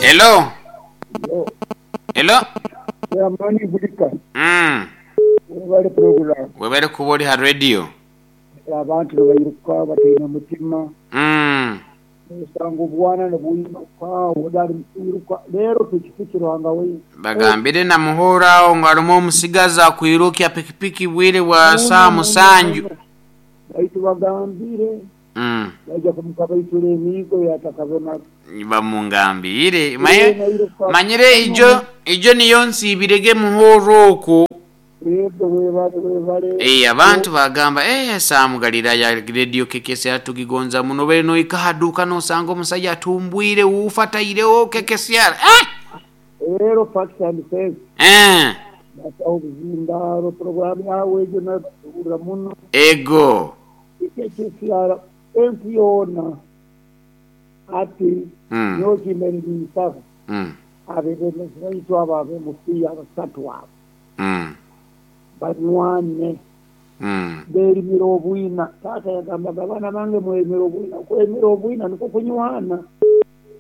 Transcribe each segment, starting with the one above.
Hello. Hello. Chairman Bulika. Webale program. Webale kuba oli ha radio. Abantu nibairuka bataine mutima. Nosanga obwana nibwiruka ondi ali mukwiruka reero pikipiki Ruhanga waitu. Bagambire na Muhoro aho ngu harimu omusigazi akwirukya pikipiki bwire bwa saaha musanju. Baitu bagambire baija kumukabaitura emiigo yatakabonaga. Bamungambiire. Manyire ijo ijo niyo nsiibirege Muhoro okwo. Yego webale webale. Eh, abantu bagamba eh, Sam Galilaya Radio KKCR tugigonza muno bere noika ha duka nosanga omusaija atumbwire wuufa ataireho KKCR eh! Leero Facts and Sense Eh. bataho obuzindaaro program yawe egyo nayo bagihurra muno. Ego. KKCR ensi yoona hati nyowe kimbaire ninsaba abebembezi baitu abo abemupiira abasatu abo banywane berimire obwina. Taata yagambaga abaana bange mwerimire obwina. Kwerimira obwina nikwo kunywana.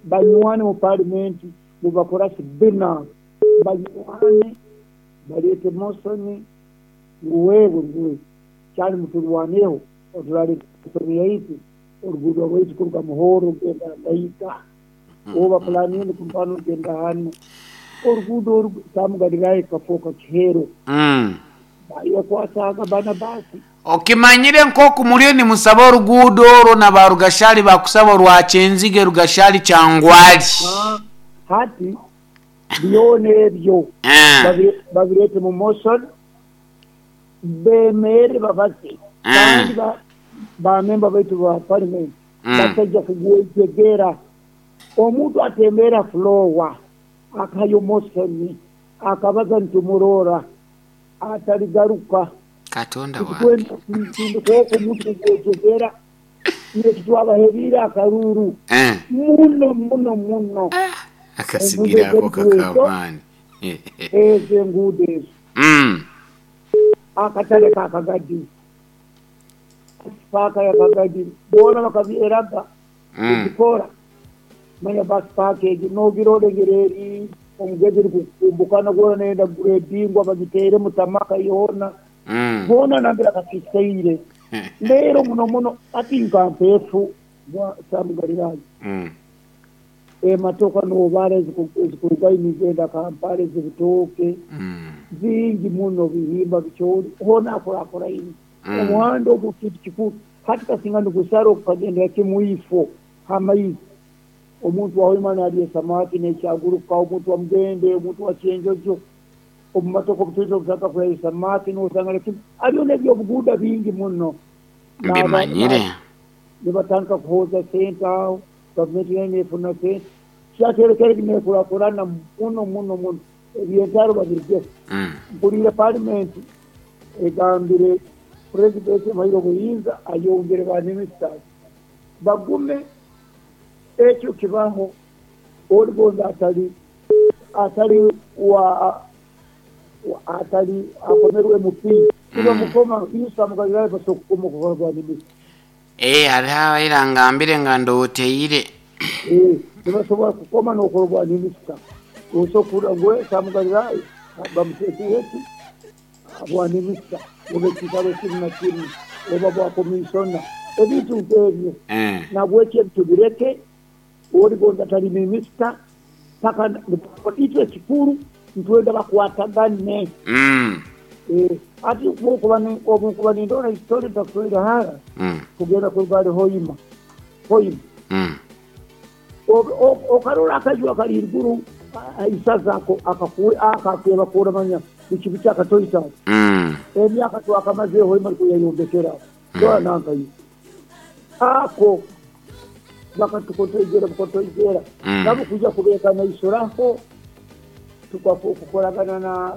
Banywane mu palimenti nibakoraki bbina banywane baleete mosoni ngu wewe ngu kyali muturwaneho oturaleeta mosoni yaitu oruguudo rwaitu kuruga Muhoro kugenda Ndaita oba pulani enu kuruga hanu kugenda hanu. Oruguudo oru Sam Galilaya kikafooka kihero. Bayekwasaaga Banabasi. Okimanyire nk'oku muriyo nimusaba oruguudo orwo na ba Rugashari bakusaba orwa Kyenzige Rugashari Kyangwali. Hati byona ebyo babireete mu motion bemerre babaze kandi ba memba baitu ba parliament bataija kugwejegera. Omuntu atemerra floor akahayo motion akabaza nitumurora ataligaruka. Katonda wange. Titukwenda omuntu kugwejegera itwe titwabaheriire akaruuru muno muno muno. Akasigiri ako kak'amaani. Ezo enguudo ezo. Akatale ka Kagadi, paaka ya Kagadi boona bakabyeraga kugikora. Manya basi paaka egyo nogirora engeri eri omugezi erikukumbukana gwona neyenda kugredingwa bagiteeremu tamaka yoona. Hoona nambere akasiisikaire. Leero muno muno hati nka Mpeefu Sam Galilaya. Emotoka nobara ezikurugayo nizigenda Kampala ez'ebitooke zingi muno bihimba bicoori hoona akuraakuraine. Omuhanda ogu kintu kikuru. Hati kasinga nigusara gukagendera kimu ifo h'amaizi. Omuntu wa Hoima nalya esamaki n'ekyaguruka, omuntu wa Mugende, omuntu wa Kyenjojo omu matoka obu twija kulya esamaki nosanga kimu. Hariyo n'ebyobuguuda bingi muno. Mbimanyire. Nibatandika kuhooza sente aho, gavumenti nayo nefuna sente. Kyaterekere nekurakurana muno muno muno. Eby'entaro babirugeho. Mpuliire palimenti egambire purezidenti amuhaire obuyinza ayongere ba minisitazi bagume ekyo kibaho oli gonza atali atali wa atali akomerwe MP tibamukoma Isa Mugalirayo basobola kukoma okukora bwa minisita. Eeh hariho abaire angambire nga ndoteire. Eeh tibasobola kukoma nokora obwa minisita. Osobola kuhurra ngu Sam Galilaya bamuteekire ki bwa minisita oba ekiikaro kinu na kinu oba bwa komisona ebintu nk'ebyo. Nahabweki ebi tubireke ori gonza tali minisita paka itwe ekikuru nitwenda bakwatagane. Hati obu nkuba nindora history ntakutwaire hara kugenda kuruga hali Hoima Hoima okarora akaju akali haiguru ha isaza ako akakebakoora manya biki biki akatoito ako emyaka twakamazeho Hoima nikwo yayombekere aho dora nanka iwe ako bakatukotoijera bukotoijera nabo kwija kubeekanaisuraho tukakoragana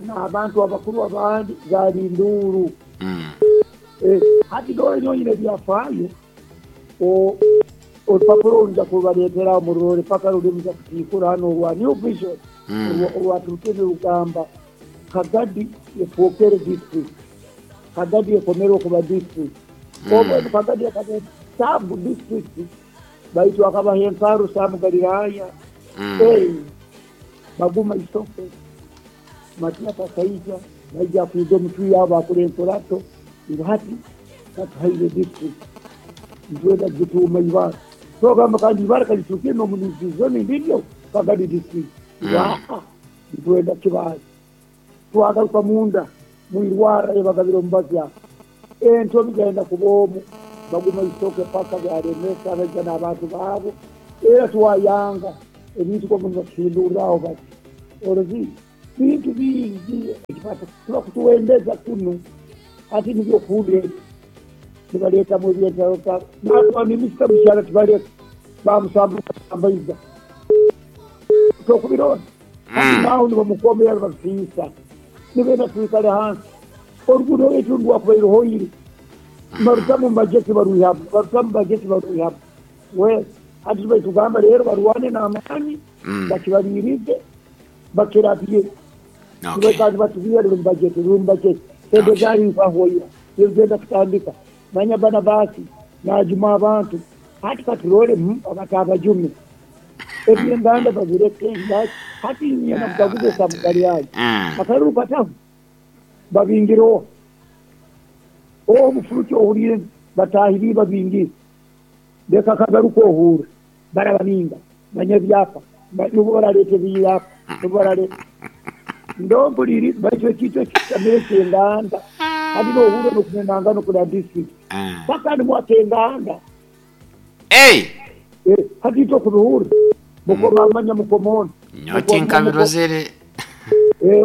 n'abantu abakuru abandi zaali nduuru. Hati dora nyowe nyine ebyafaayo orupapura oru nja kurubaleetera aho mururole paka ruli muja kutiikura hanu orwa New Vision orwaturukire nirugamba Kagadi efookere district. Kagadi ekomerwe kuba district. Obu Kagadi ekaba sub district baitu akabaha enkaru Sam Galilaya. Baguma isoke Matias akaija naija kwiga omutwi yabo akora enkurato ngu hati katuhaire district nitwenda kugituuma Ibara. Twagamba kandi Ibara kalitukire n'omu zone ndiryo Kagadi district. Aa, nitwenda Kibaale. Twagaruka munda mwirwara ebagabira omubazi aho entobi genda kuba omu baguma isoke paka byaremesa baija n'abantu baabo era twayanga ebintu komu nibatuhindurraho bati orozi bintu bingi tuba kutuwendeza kunu ati nibyo kuhurra nibaleetamu ebyentaro minisita mukyala tibaleka bamusambaiza tokubirona kati naho nibamukomera nibatusiisa nibenda twikale hansi oruguudo rwaitu rwakubaire hoire barutamu mubajeti baruihamu barutamu bajeti baruihamu we hati tubaitugamba rero barwane n'amaani bakibaliirize bakirabye. Kandi batubwire ruri mubajeti ruri mubajeti sente zarifahoira yogenda kutandika manya bana basi najuma abantu hati katurole abatabajume ebyenganda babireke hati nyina kugaguza samugali akaruru pataho babingireho omufuruki ohurire batahiri babingire leka kagaruka ohure barababinga manya ebyapa nubo baraleta ebyapa nubo baraleta ndompuliri baitwe ekitwe kitamire kyenganda hati nohure nokunenanga nokuna district paka nimwakenganda hati itwe kubihure mukomamanya mukomona nyoti nkabirozere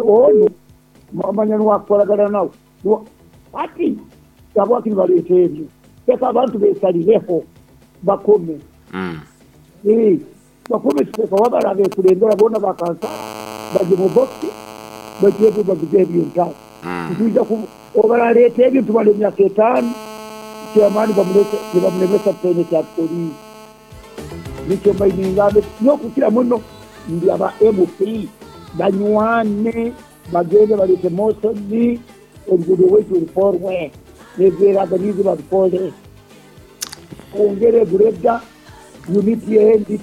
onu mamanya niwakukoragana nawe hati habwaki nibaleta ebyo leka abantu besalireho bakome bakome sipeka wabara bekulembera bona bakansa baje mu boxi baje bagize ebintu tuija obaraleta ebintu bale emyaka 5 kyamaani bamulete nibamulemesa pene kya polisi nikyo mbaingambe nokukira muno ndi aba MP banywane bagende balete mosoni oluguudo rwaitu rukorwe nebyeraganizi babikole ongere gureda unity endi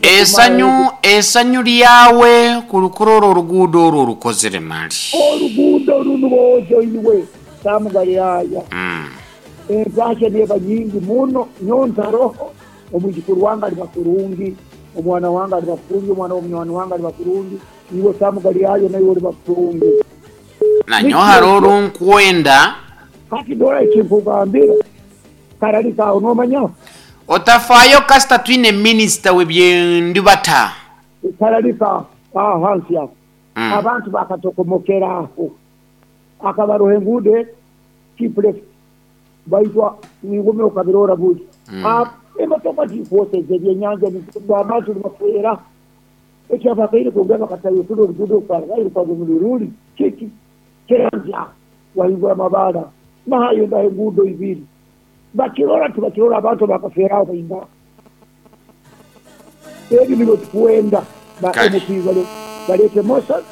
esanyu lyawe ku lukurora oluguudo olwo olukozere mali oluguudo luno boojo iwe samugaliraya entasya neba nyingi muno nyontaroho omwijukuru wange ali bakurungi omwana wange ali bakurungi omwana w'omunywani wange ali bakurungi iwe samugalirayo naiwe oli bakurungi nanyo hariho orunkwenda kati dora ekinkugambira karalikaho nomanyaho otafayo kasita twine minisita w'ebyendibata karalika aho hansi aho abantu bakatokomokeraho akabaroha enguudo kipleft baitwa ningume okabirora buli emotoka tikwoseza ebyenyanja abantu nibafera ekyabakaire kugamba katayosula oluguudo karairukagumiruruli kiki kiranja wahingura amabara nahayenda enguudo ibiri bakirora tibakirora abantu bakaferaho bainga ebyo nibyo tukwenda ba MP balete mosa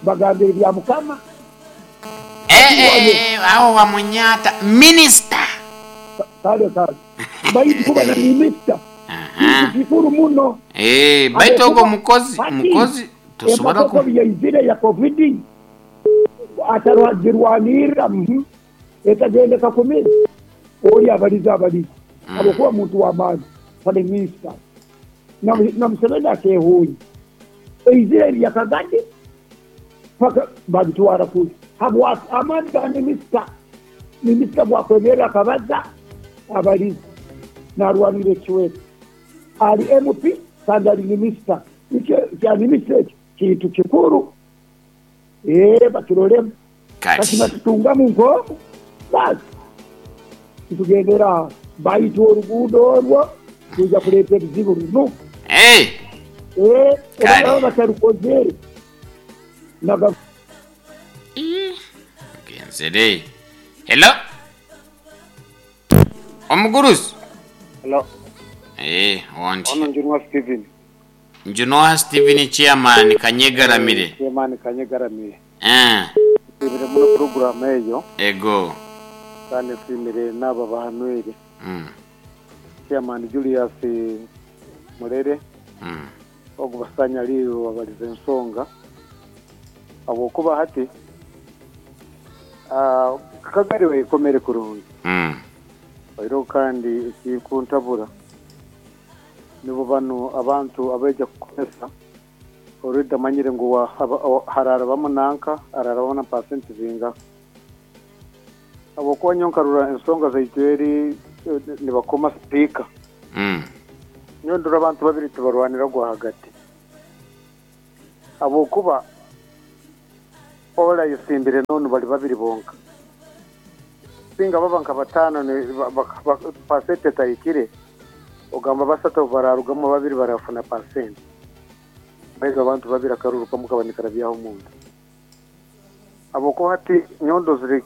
bagambire bya mukama aho wamunyata minister kale kale baitu kuba na minister kikuru muno baitu ogo mukozi tusobora ku yaizire ya covid atarwagirwanira etagenda kakumira oli abaliza abokuba muntu w'amaani pale minister na Museveni akehuye eizire ya Kagadi paka babitwara kuli habwa amaani ga minisita bwakwemera akabaza abaliza narwanira ekiweta ali MP kandi ali minisita kya minisita ekyo kintu kikuru bakirolemu kati batutungamu nkomu basi tugendera baitu oluguudo olwo tuja kuleeta ebizibu luno obalaba batarukozere genzere. Hello omugurusi. Hello. Ondi ono Njunwa Steven. Njunwa Steven chairman Kanyegaramire. Chairman Kanyegaramire. Ibire muno program eyo. Ego. Kandi nsimire n'aba bahanwire. Chairman Julius Murere. Ogu basanyaliirwe babalize ensonga habwokuba hati Kagari wekomere kurungi. Oihireho kandi ekikuntabura nibo banu abantu abaija kukozesa already amanyire ngu hararabamu nanka hararabamu na pasenti zingaha. Habwokuba nyowe nkarora ensonga zaitu eri nibakoma sipiika. Nyowe ndora abantu babiri tibarwanira gwahagati. Habwokuba ole ayesimbire n'onu bali babiri bonka. Singa baba nka bataano pasenti etahikire, ogamba basatu obu bararugamu babiri barafuna pasenti. Baitu abantu babiri akaruru kamu kaba nikarabyaho omuntu. Habwokuba hati nyowe ndozire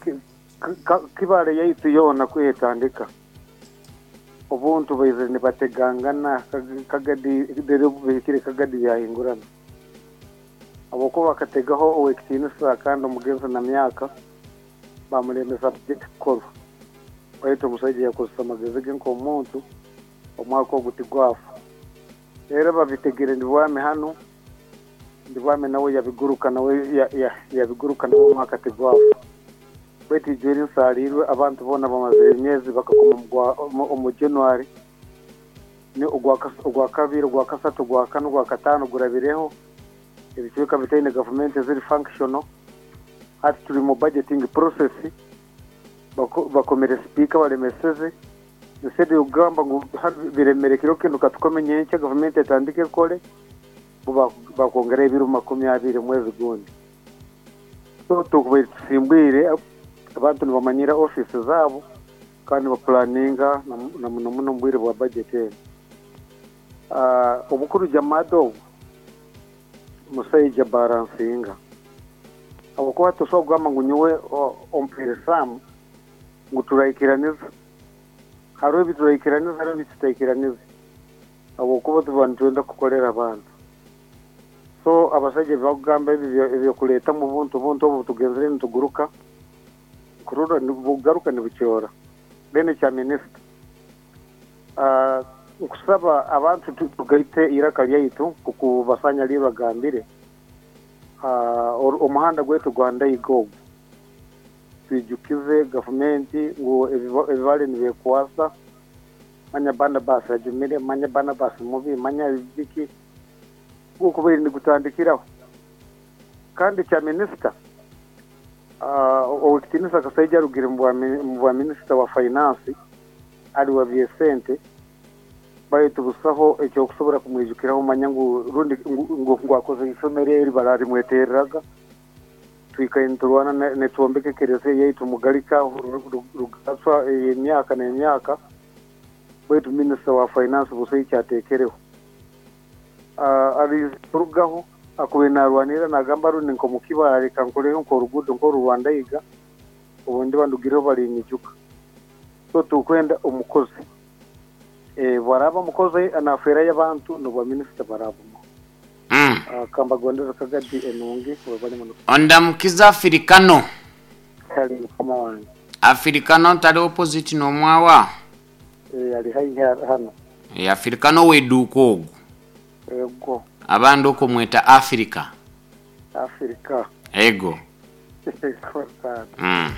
Kibaale yaitu yoona kwiha etandika, obuntu baizire nibategangana Kagadi reero obu bihikire Kagadi byahingurana. Habwokuba bakategaho ow'ekitiinisa kandi omugenzi na myaka bamulemesa bajeti kukorwa. Baitu omusaija yakozesa amagezi ge nk'omuntu, omwaka ogu tigwafa. Reero babitegere Ndibwami hanu, Ndibwami nawe yabiguruka nawe yabiguruka nawe omwaka tigwafa. Baitu ijo eri nsaaliirwe abantu boona bamazire emyezi bakakoma omu January, Ogwakabiri, Ogwakasatu, Ogwakana, Ogwakataano gurabireho, ebicweka bitaine gavumenti eziri functional. Hati turi mu budgeting process, bakomere sipiika balemeseze. Instead yokugamba ngu biremere kiro kinu katukome nyenkya gavumenti etandike ekore, bo bakwongeraho ebiro 20 omwezi gundi. So tukubaire tusimbwire abantu nibamanyira ofiisi zaabo kandi nibapulaninga na muno muno omu bwire bwa bajeti enu. Obukuru Jamada obu musaija baransinga habwokuba tosobora kugamba ngu nyowe ompaire Sam ngu turaikiraniza. Haroho ebi turaikiraniza haroho ebi tutaikiraniza habwokuba tuba nitwenda kukolera abantu. So abasaija ebi bakugamba ebi ebyokuleetamu obuntu buntu obu tugenzere nituguruka kurora nibugaruka nibukyora. Then ekya minisita, nkusaba abantu tugaite eiraka lyaitu nkoku Basanyalirwe agambire, omuhanda gwaitu gwa Ndaiga ogu twijukize gavumenti ngu ebi baali nibekwasa manya Barnabas ajumire, manya Barnabas mubi, manya biki, gukubaire nigutandikiraho. Kandi ekya minisita, Owekitiinisa Kasaija arugire omu bwa minisita wa finance ali wa by'esente baitu busaho ekyokusobora kumwijukiraho manya ngu rundi ngu akoze isomero eri baralimwetereraga. Twikaire niturwana nitwombeka ekereziya yaitu Mugalika Rugaswa ey'emyaka n'emyaka baitu minisita wa finance busaho ekyatekereho. Arize kurugaho akubaire narwanirira nagamba rundi nk'omu Kibaale leka nkoleho nk'oruguudo nk'oru rwa Ndaiga obu ndiba ndugireho balinyijuka. So tukwenda omukozi. Obu araaba omukozi nafeerayo abantu n'obwa minisita barabumuha. Kambagondeze Kagadi enungi webale muno. Ondamukize Afirikano. Kale mukama wange. Afirikano tali opposite n'omwawa? Ee ali haihi hano. Ee Afirikano ow'eduuka ogwo. Ego. Abandi okumweta Afirika. Afirika. Ego. Ego taata.